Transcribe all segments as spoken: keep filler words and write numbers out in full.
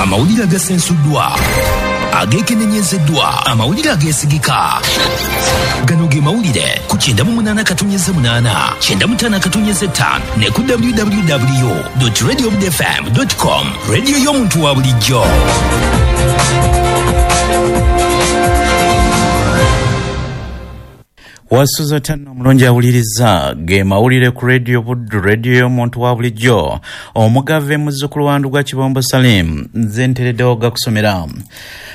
Amawulire agasensuddwa, ageekenenyezeddwa, amawulire ageesigika. Gano ge mawulire ku kyenda mu munaana katonyeze munaana, kyenda mu ttaano katonyeze ttaano ne ku w w w dot radio f m dot com. Radio y'omuntu wa bulijjo. Wasuza tano omulungi awuliriza ge mawulire ku Radio Buddu, radio y'omuntu wa bulijjo. Omugave muzzukulu wa Ndugwa Kibombo Salim nze ntereddewo gakusomera.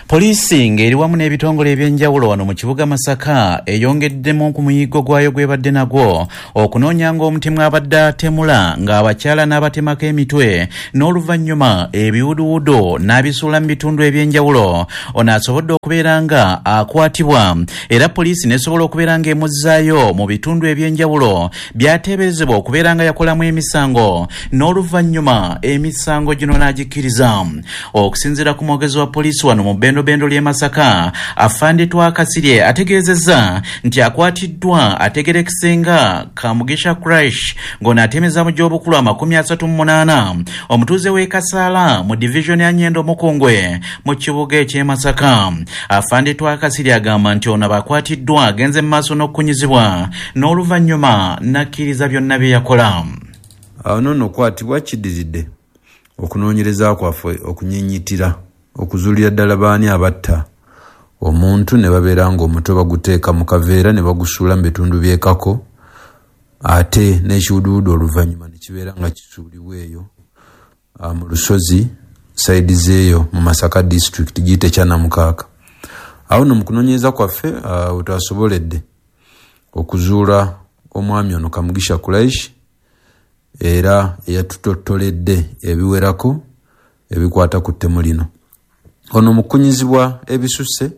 Poliisi ng'eri wamu n'ebitongole ebyenjawulo wano mu kibuga Masaka eyongeddemu ku muyiggo gwayo gw'ebadde nagwo okunoonyanga omutemu abadde atemula ng'abakyala n'abatemako emitwe n'oluvannyuma ebiwuduwudu n'abisuula mu bitundu ebyenjawulo. Ono asobodde okubeera nga akwatibwa era poliisi n'esobola okubeera nga emuzaayo mu bitundu ebyenjawulo byateeberezebwa okubeera nga yakolamu emisango n'oluvannyuma emisango gino n'agikkiriza. Okusinziira ku mwogezi wa poliisi wano mu bendobendo ly'e Masaka, Afande Twakasirye ategeezezza nti akwatiddwa ategerekese nga Kamugisha Crash ng'ono atemeza mu gy'obukulu amakumi asatu mu munaana, omutuuze w'e Kasaala mu divizoni ya Nyendo Mukungwe mu kibuga eky'e Masaka. Afande Twakasirye agamba nti ono abakwatiddwa agenze mu maaso n'okukunyizibwa n'oluvannyuma n'akkiriza byonna bye yakola. Awo nno okwatibwa kiddiridde okunoonyereza kwaffe okunyinyitira okuzuulira ddala baani abatta omuntu ne babeera ng'omutwe baguteeka mu kaveera ne bagusuula mu bitundu by'ekako, ate n'ekiwuduwudu oluvannyuma ne kibeera nga kisuulibwa eyo mu lusozi sayidi z'eyo mu Masaka disitulikiti giyite Kyanamukaaka. Awo nno mu kunoonyereza kwaffe we twasoboledde okuzuula omwami ono Kamugisha Kuraish era eyatutottoledde ebiwerako ebikwata ku ttemu lino. Ono mu kukunyizibwa ebisusse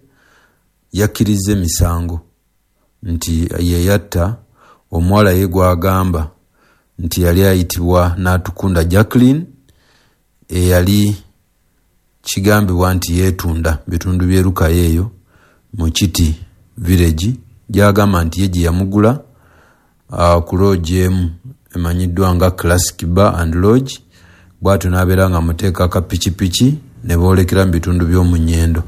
yakkiriza emisango nti ye yatta omuwala ye gw'agamba nti yali ayitibwa Natukunda Jacqueline eyali kigambibwa nti yeetunda bitundu by'e Lukaya eyo mu Kiti village, gy'agamba nti ye gye yamugula uh, ku lodge emu emanyiddwa nga Classic Bar and Lodge, bw'atyo n'abeera nga amuteeka akapikipiki ne boolekera mu bitundu by'omu Nyendo.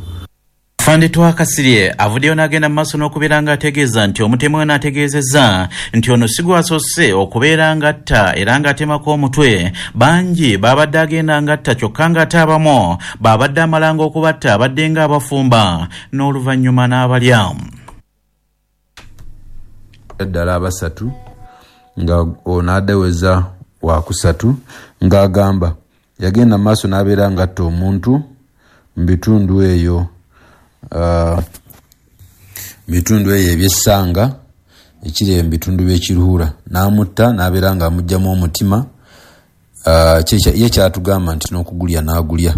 Afande Twakasirye avuddeyo n'agenda mu maaso n'okubeera ng'ategeeza nti omutemu ono ategeezezza nti ono si gwasoose okubeera ng'atta era ng'atemako omutwe. Bangi babadde agenda ng'atta kyokka ng'ate abamu babadde amalanga okubatta abadde ng'abafumba n'oluvannyuma n'abalya. Ddala abasatu nga ono adeweza wakusatu ng'agamba yagenda maaso n'abeera ng'atta omuntu mu bitundu eyo Uh, bitundu eyo ebyessanga ekiri mu bitundu by'ekiruhura n'amutta n'abeera ng'amuggyamu omutima. uh, ye kyatugamba nti n'okugulya n'agulya.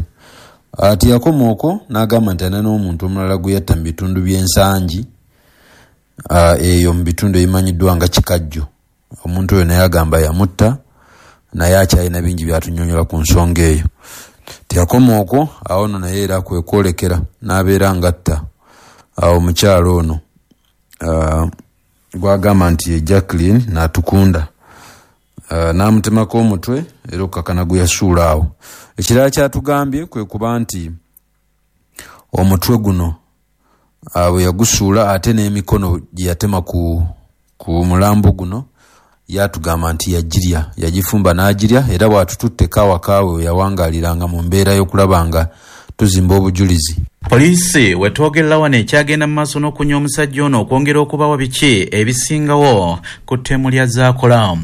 uh, teyakoma okwo n'agamba nti alina n'omuntu omulala gwe yatta mu bitundu by'ensangi uh, eyo mu bitundu ebimanyiddwa nga Kikajjo. Omuntu oyo naye agamba yamutta naye akyalina bingi by'atunnyonnyola ku nsonga eyo. Teyakoma okwo, awo nno naye era kwe kwolekera n'abeera ng'atta omukyala ono uh, gw'agamba nti ye Jacqueline Natukunda uh, n'amutemako omutwe era okukakana gwe yasuula awo. Ekirala kyatugambye kwe kuba nti omutwe guno uh, bwe yagusuula ate n'emikono gye yatema ku, ku mulambo guno yatugamba nti yagirya, yagifumba n'agirya, era bw'atututte kawakaawe we yawangaaliranga mu mbeera y'okulaba nga tuzimba obujulizi. Poliisi wetwogerera wano ekyagenda mu maaso n'okunya omusajja ono okwongera okubawa biki ebisingawo ku ttemu lya Zaakola.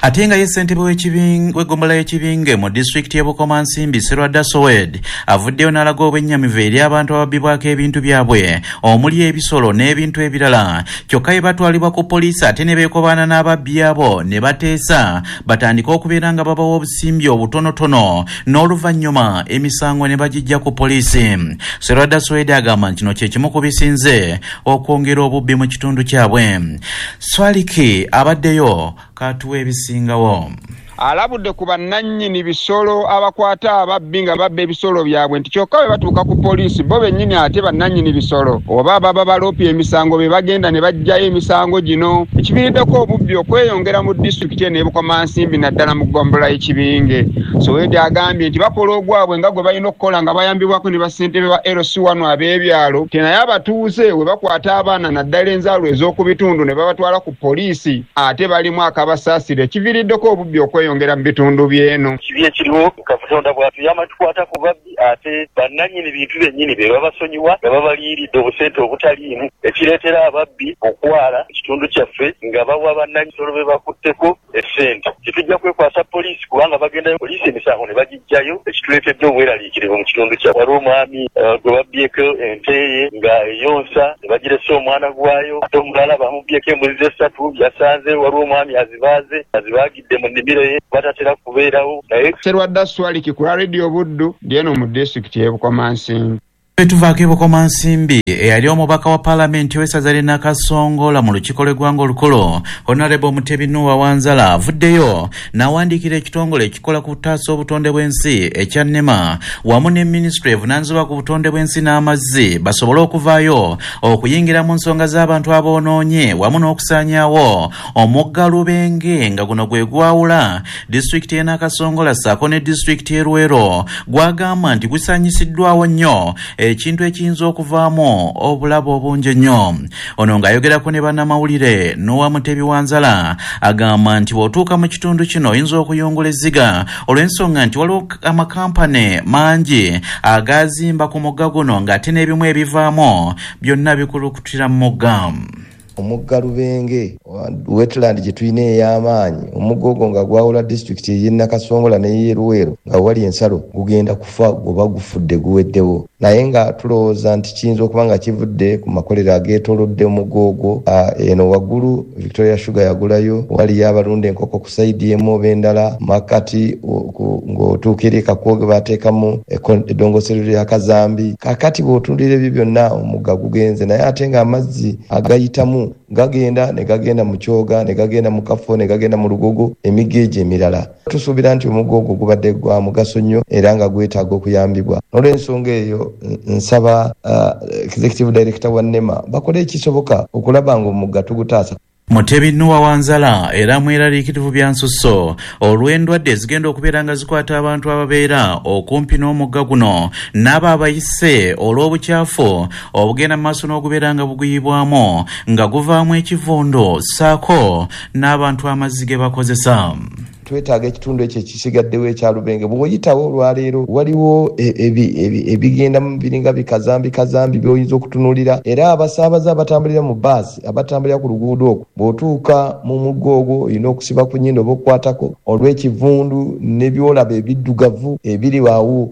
Ate nga ye ssentebe w'eggombolola y'Ekibinge mu disitulikiti y'e Bukomansimbi Serwadda Sowed avuddeyo n'alaga obwennyamivu eri abantu ababbibwako ebintu byabwe omuli ebisolo n'ebintu ebirala, kyokka ye batwalibwa ku poliisi ate ne beekobaana n'ababbi abo ne bateesa batandike okubeera nga babawa obusimbi obutonotono n'oluvannyuma emisango ne bagijja ku poliisi. Serwadda Swede agamba nti kino kye kimu ku bisinze okwongera obubbi mu kitundu kyabwe. Swaliki abaddeyo katuwa ebisingawo. Alabudde ku bannannyini bisolo abakwata ababbi nga babba ebisolo byabwe nti kyokka bwe batuuka ku poliisi bo bennyini ate bannannyini bisolo oba baba baloopye emisango be bagenda ne baggyayo emisango gino, ekiviiriddeko obubbi okweyongera mu disitulikiti eno e Bukomansimbi naddala mu ggombolola y'Ekibinge. Sowedi agambye nti bakola ogwabwe nga gwe balina okukola nga bayambibwako ne bassentebe ba L C one ab'ebyalo, nti naye abatuuze we bakwata abaana naddala enzaalwa ez'oku bitundu ne babatwala ku poliisi ate balimu akabasaasira, ekiviiriddeko obubbi okweyongera mu bitundu by'eno. Kibi ekiriwo Katonda bw'atuyamba tukwata ku babbi ate bannannyini bintu byennyini be babasonyiwa nga babaliyiridde obusente obutaliimu, ekireetera ababbi okwala ekitundu kyaffe nga bawa bannannyini bisolo be bakutteko essente. Tetujja kwekwasa poliisi kubanga bagendayo poliisi emisango ne bagiggyayo, ekituleetedde obweraliikirivu mu kitundu kyaffe. Waliwo omwami gwe babbyeko ente ye nga eyonsa ne bagirese omwana gwayo, ate omulala bamubbyeko embuzi essatu yasanze waliwo omwami azibaaze azibaagidde mu nnimiro ye batatera kubeerawo. Naye Serwadda Swaliki ku Radio Buddu ndi eno mu disitulikiti y'e Bukomansimbi. Tuvaako e Bukomansimbi, eyali omubaka wa paalamenti w'essaza ly'e Nakasongola mu lukiiko lw'eggwanga olukulu Honorable Mutebi Nuwa Wanzala avuddeyo n'awandiikira ekitongole ekikola ku kutaasa obutonde bw'ensi ekya NEMA wamu ne minisitule evunaanyizibwa ku butonde bw'ensi n'amazzi basobole okuvaayo okuyingira mu nsonga z'abantu aboonoonye wamu n'okusaanyaawo omugga Lubenge nga guno gwe gwawula disitulikiti y'e Nakasongola ssaako ne disitulikiti y'e Luweero, gwagamba nti gusaanyisiddwawo nnyo ekintu ekiyinza okuvaamu obulabe obungi ennyo. Ono ng'ayogerako ne bannamawulire Noah Mutebi Wanzala agamba nti bw'otuuka mu kitundu kino oyinza okuyungula ezziga olw'ensonga nti waliwo amakampani mangi agazimba ku mugga guno ng'ate n'ebimu ebivaamu byonna bikulukutira mu mugga. Omugga Lubenge wetland gye tulina ey'amaanyi, omugga ogwo nga gwawula disitulikiti ey'e Nakasongola n'ey'e Luweero nga wali ensalo gugenda kufa goba gufudde guweddewo, naye nga tulowooza nti kiyinza okuba nga kivudde ku makolero ageetoolodde omugga ogwo. Eno waggulu Victoria Sugar yagulayo, waliyo abalunda enkoko ku sayidi emu oba endala, makati ng'otuuka eri e Kakwoge baateekamu eddongoserero lya Kazambi. Kaakati bw'otunuulira ebyo byonna omugga gugenze, naye ate ng'amazzi agayitamu gagenda ne gagenda mu Kyoga ne gagenda mu Kafo ne gagenda mu Lugogo, emigga egyo emirala. Tusuubira nti omugga ogwo gubadde gwa mugaso nnyo era nga gwetaaga okuyambibwa. N'olw'ensonga eyo nsaba uh, executive director wa NEMA bakole ekisoboka okulaba ng'omugga tugutaasa. Mutebi Nuwa Wanzala era mweraliikirivu bya nsusso olw'endwadde ezigenda okubeera nga zikwata abantu ababeera okumpi n'omugga guno n'abo abayise olw'obukyafu obugenda mu maaso n'okubeera nga buguyibwamu nga guvaamu ekivundu ssaako n'abantu amazzi ge bakozesa. Twetaaga ekitundu ekyo ekisigaddewo ekya Lubenge. Bw'oyitawo olwaleero waliwo ebigenda mu biringa bikazambi kazambi by'oyinza okutunuulira, era abasaabaze abatambulira mu baasi abatambulira ku luguudo okwo bw'otuuka mu mugga ogwo olina okusiba ku nnyindo oba okukwatako olw'ekivundu n'ebyolaba ebiddugavu ebiri awo,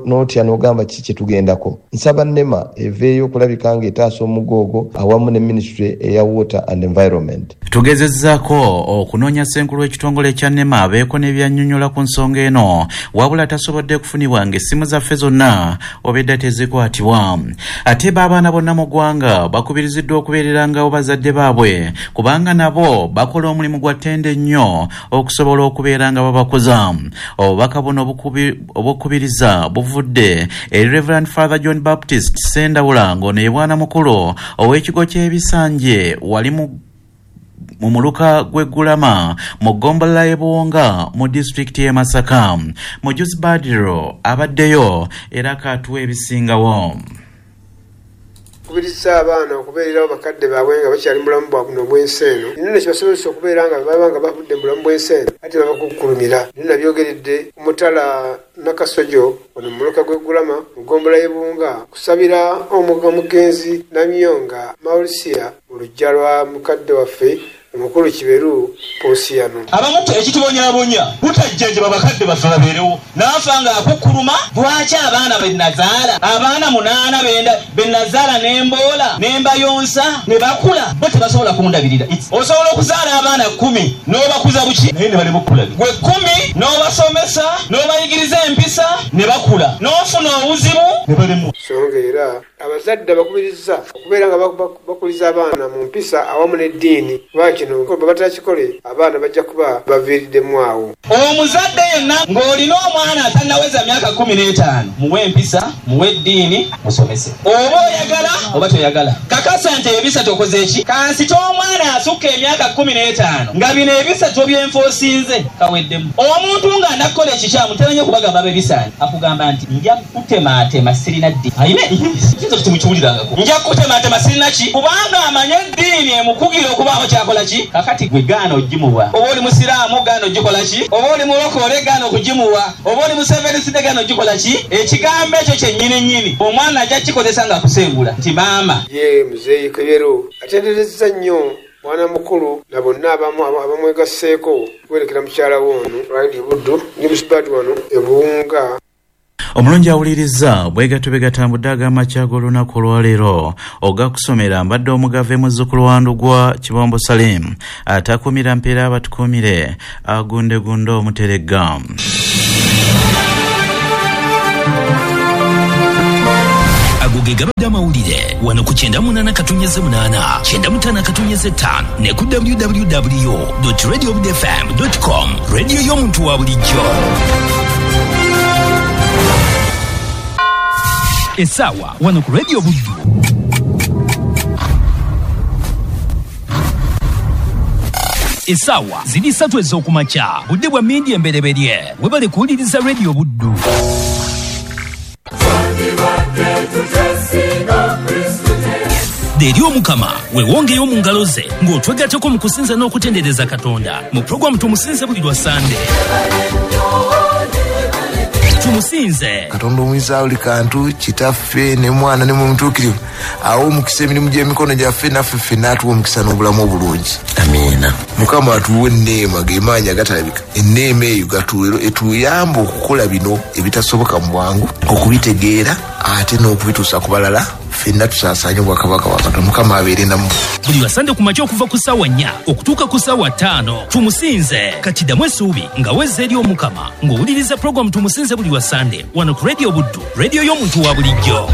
n'otya n'ogamba kiki kye tugendako. Nsaba NEMA eveeyo okulabika ng'etaasa omugga ogwo awamu ne minisitule eya Water and Environment. Tugezezzaako okunoonya ssenkulu w'ekitongole kya NEMA abeeko n'ebyannyonnyola ku nsonga eno, wabula tasobodde kufunibwa ng'essimu zaffe zonna obedda tezikwatibwa. Ate bo abaana bonna mu ggwanga bakubiriziddwa okubeererangawo bazadde baabwe kubanga nabo bakola omulimu gwa ttende nnyo okusobola okubeera nga babakuza. Obubaka buno obukubiriza buvudde eri Reverend Father John Baptist Ssendawula ng'ono ye bwana mukulu ow'ekigo ky'Ebisanje wali mu mu muluka gw'Eggulama mu ggombolola y'e Buwonga mu disitulikiti y'e Masaka. Mujuzi Badiro abaddeyo era kaatuwa ebisingawo. Kubiriza abaana okubeererawo bakadde baabwe nga bakyali mu bulamu bwa buno obw'ensi eno, nno kibasobozesa okubeera nga baba nga bavudde mu bulamu bw'ensi eno ate babakukkulumira. Nno nabyogeredde ku mutala Nakasojo ono mu muluka gw'Eggulama mu ggombolola y'e Buwunga kusabira omugenzi Namyonga Maurisia mu luggya lwa mukadde waffe omukulu Kiberu Posiano. Abamu ekitubonyaabonya butajjanjaba bakadde baffe babeerewo, n'afa ng'akukkuluma. Lwaki abaana be nazaala, abaana munaana be nazaala n'emboola n'embayonsa ne bakula, bo tebasobola kundabirira. Osobola okuzaala abaana kkumi n'obakuza buki naye ne balema okukulabira. Gwe kkumi n'obasomesa n'obayigiriza empisa ne bakula, n'ofuna obuzibu ne balemwa. So nga era abazadde abakubirizza okubeera nga bakuliza abaana mu mpisa awamu n'eddiini, kuba kino bwe batakikole abaana bajja kuba baviiriddemu awo. Omuzadde yenna ng'olina omwana atannaweza myaka kkumi n'etaano, muwe empisa, muwe eddiini, musomese. Oba oyagala oba toyagala, kakasa nti ebisatu okoze eki? Kansita omwana asukka emyaka kkumi n'etaano nga bino ebisatu byenfoosinze kaweddemu. Omuntu ng'anakkola ekikyamu tera kubagamba abebisaanyi, akugamba nti nja kutemaatema sirina ddiini. Ayine kiyinza kutimukiwulirangako, nja kutemaatema sirina ki, kubanga amanye eddiini emukugira okubaako kyakola ki. Kakati gwe gaana ogimuwa, oba oli musiraamu gaana ogikola ki, oba oli mulokole gaana okugimuwa, oba oli museveniside gaana ogikola ki. Ekigambo ekyo kyennyini nnyini omwana ajja kikozesa ng'akusengula nti maama. Ye Muzeeyi Kebero atenderezza nnyo mwana mukulu na bonna abamu abamwegasseeko kuwerekera mukyala we ono Radio Buddu ne Musibati wano e Buwunga. Omulungi awuliriza bwegatyo bwe gatambudde ag'amakya g'olunaku olwaleero ogakusomera mbadde omugave muzzukulu wa Ndugwa Kibombo Salim atakuumira mpeera abatukuumire agundegunde omuteregga. Ago ge gabadde amawulire wano ku kyenda munaana katunyeze munaana kyenda mutaano katunyeze ttaano ne ku w w w dot radio buddu f m dot com. Radio y'omuntu wa bulijjo. Essaawa wano ku Radio Buddu essaawa ziri ssatu ez'okumakya, budde bwa mmindi embereberye. Webale kuwuliriza Radio Buddu. Eri Omukama weewongeyo mu ngalo ze ng'otwegattako mu kusinza n'okutendereza Katonda mu pulogulaamu Tumusinze buli lwa Sande. Tumusinze Katonda omuyinza buli kantu, kitaffe ne mwana ne Mwoyo awo omukisa emirimu gy'emikono gyaffe naffe ffenna atuwe omukisa n'obulamu obulungi. Amiina. Mukama atuwe enneema gemaanyi agatalabika, enneema eyo etuyamba okukola bino ebitasoboka mu bwangu, okubitegeera ate n'okubituusa ku balala, ffenna tusaasaanye obwakabaka bwa Katonda. Mukama abeere nammwe. Buli lwa Sande ku makya okuva ku ssaawa nnya okutuuka ku ssaawa ttaano Tumusinze. Katiddamu essuubi nga wezza eri Omukama ng'owuliriza pulogulaamu Tumusinze buli lwa Sande wano ku Radio Buddu, radio y'omuntu wa bulijjo.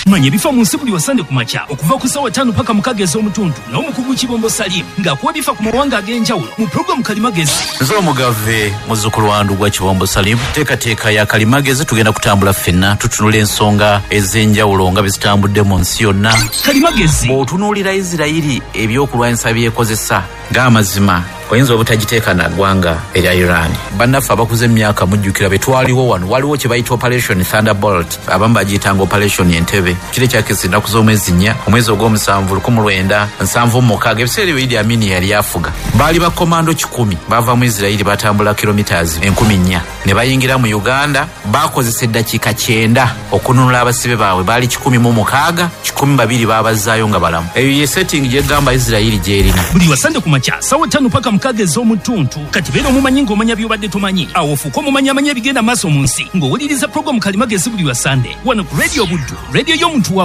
Manya ebifa mu nsi buli wa Sande ku makya okuva ku ssaawa ttaano paka mukaaga ez'omutundu n'omukugu Kibombo Salim ng'akuwa ebifa ku mawanga ag'enjawulo mu pulogulaamu Kalimagezi. Nze omugave muzzukulu wa Ndugwa Kibombo Salim, teekateeka ya Kalimagezi tugenda kutambula ffenna tutunula ensonga ez'enjawulo nga bwe zitambudde mu nsi yonna. Kalimagezi bw'otunuulira Isirayiri ebyokulwanyisa by'ekozesa ng'amazima oyinza obutagiteeka na ggwanga erya Iran. Bannaffe abakuze emyaka mujjukira be twaliwo wano, waliwo kye bayita Operation Thunderbolt, abamu bagiyitanga Operation Entebbe. Kiro ekyakisa ennaku z'omwezi nnya, omwezi ogw'omusanvu lukumi lwenda nsanvu mu mukaaga, ebiseera ebyo Idi Amin yali afuga. Baali bakomando kikumi bava mu Isirayiri batambula kilometers enkumi nnya ne bayingira mu Uganda. Bakozesa eddakiika kyenda okununula abasibe baabwe, baali kikumi mu mukaaga, kikumi babiri baabazaayo nga balamu. Eyo ye setting gyegamba Isirayiri gy'erina. Buli wa Sande ku makya ssaawa ttaano paka mukaaga ez'omutuntu. Kati beera omumanyi ng'omanya by'obadde tomanyi, awo ofuuke omumanyi amanya ebigenda maaso mu nsi ng'owuliriza pulogulaamu Kalimagezi buli wa Sande wano ku Radio Buddu, radio y'omuntu wa